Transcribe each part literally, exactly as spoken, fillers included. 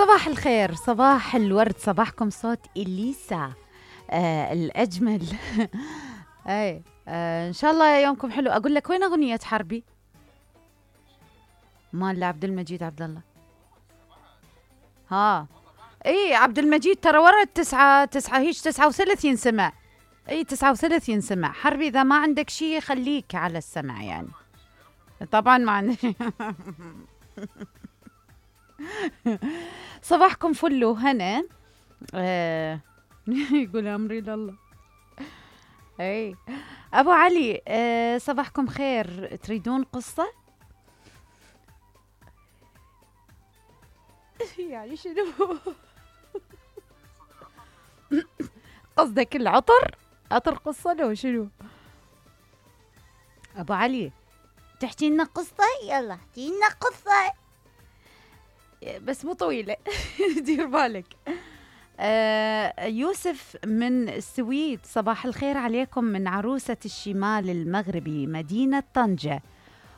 صباح الخير، صباح الورد، صباحكم صوت إليسا آه الأجمل. أي آه إن شاء الله يومكم حلو. أقول لك وين أغنية حربي؟ مال لعبد المجيد عبد الله. ها إي عبد المجيد ترى ورا التسعة تسعة هيش تسعة وثلاثين سمع. إي تسعة وثلاثين سمع. حربي إذا ما عندك شيء خليك على السمع يعني. طبعا ما عندي. صباحكم فل وهنا. آه يقول أمري لله. اي ابو علي، آه صباحكم خير. تريدون قصة؟ يعني شنو؟ قصدك العطر؟ عطر قصة لو شنو؟ ابو علي تحكي لنا قصة؟ يلا احكي لنا قصة بس مو طويلة. دير بالك. آه يوسف من السويد، صباح الخير عليكم من عروسة الشمال المغربي مدينة طنجة.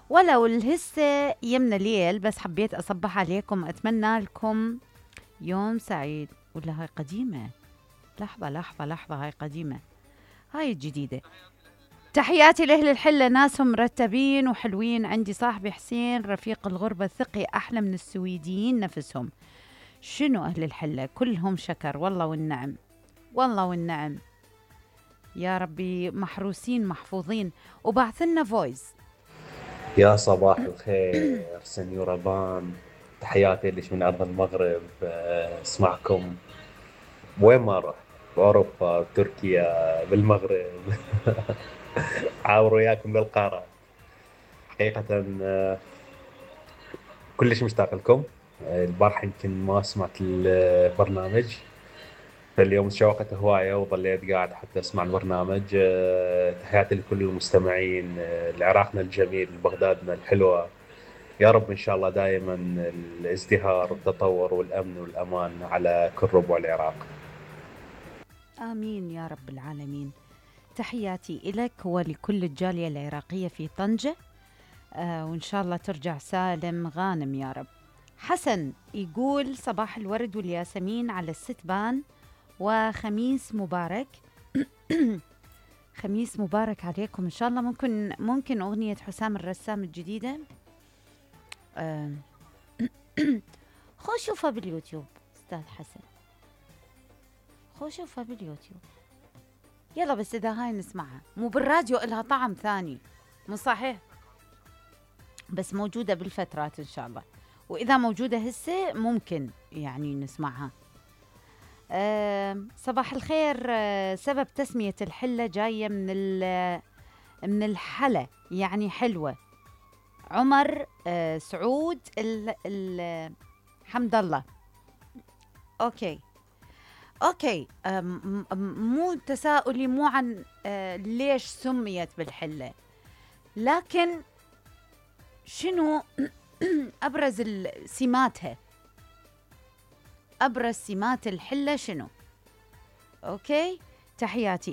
ولو الهسة يمنا ليل بس حبيت أصبح عليكم، أتمنى لكم يوم سعيد. ولا هاي قديمة؟ لحظة لحظة لحظة هاي قديمة، هاي الجديدة. تحياتي لأهل الحلة، ناسهم مرتبين وحلوين. عندي صاحبي حسين رفيق الغربة الثقي أحلى من السويديين نفسهم. شنو أهل الحلة كلهم شكر، والله والنعم والله والنعم يا ربي، محروسين محفوظين. وبعثلنا فويس. يا صباح الخير سنيورة بان، تحياتي لك من أرض المغرب. أه، اسمعكم وين ما رحت، بأوروبا بتركيا بالمغرب. عاور وياكم للقارة حقيقة. أه، كلش مشتاق لكم. أه، البارحة يمكن ما سمعت البرنامج، فاليوم تشوقت هواية وظليت قاعد حتى أسمع البرنامج. أه، تحياتي لكل المستمعين. أه، لعراقنا الجميل، بغدادنا الحلوة. يا رب إن شاء الله دائما الازدهار والتطور والأمن والأمان على كل ربوع العراق. آمين يا رب العالمين. تحياتي إلك ولكل الجالية العراقية في طنجة. آه وإن شاء الله ترجع سالم غانم يا رب. حسن يقول صباح الورد والياسمين على الستبان وخميس مبارك. خميس مبارك عليكم إن شاء الله. ممكن ممكن أغنية حسام الرسام الجديدة. آه خو شوفها باليوتيوب أستاذ حسن، خو شوفها باليوتيوب يلا. بس إذا هاي نسمعها مو بالراديو إلها طعم ثاني، مو صحيح؟ بس موجودة بالفترات إن شاء الله، وإذا موجودة هسه ممكن يعني نسمعها. أه صباح الخير. أه سبب تسمية الحلة جاية من من الحلا يعني حلوة. عمر أه سعود ال ال حمد الله. أوكي أوكي. أه مو تساؤلي مو عن أه ليش سميت بالحلة، لكن شنو أبرز سماتها، أبرز سمات الحلة شنو؟ أوكي. تحياتي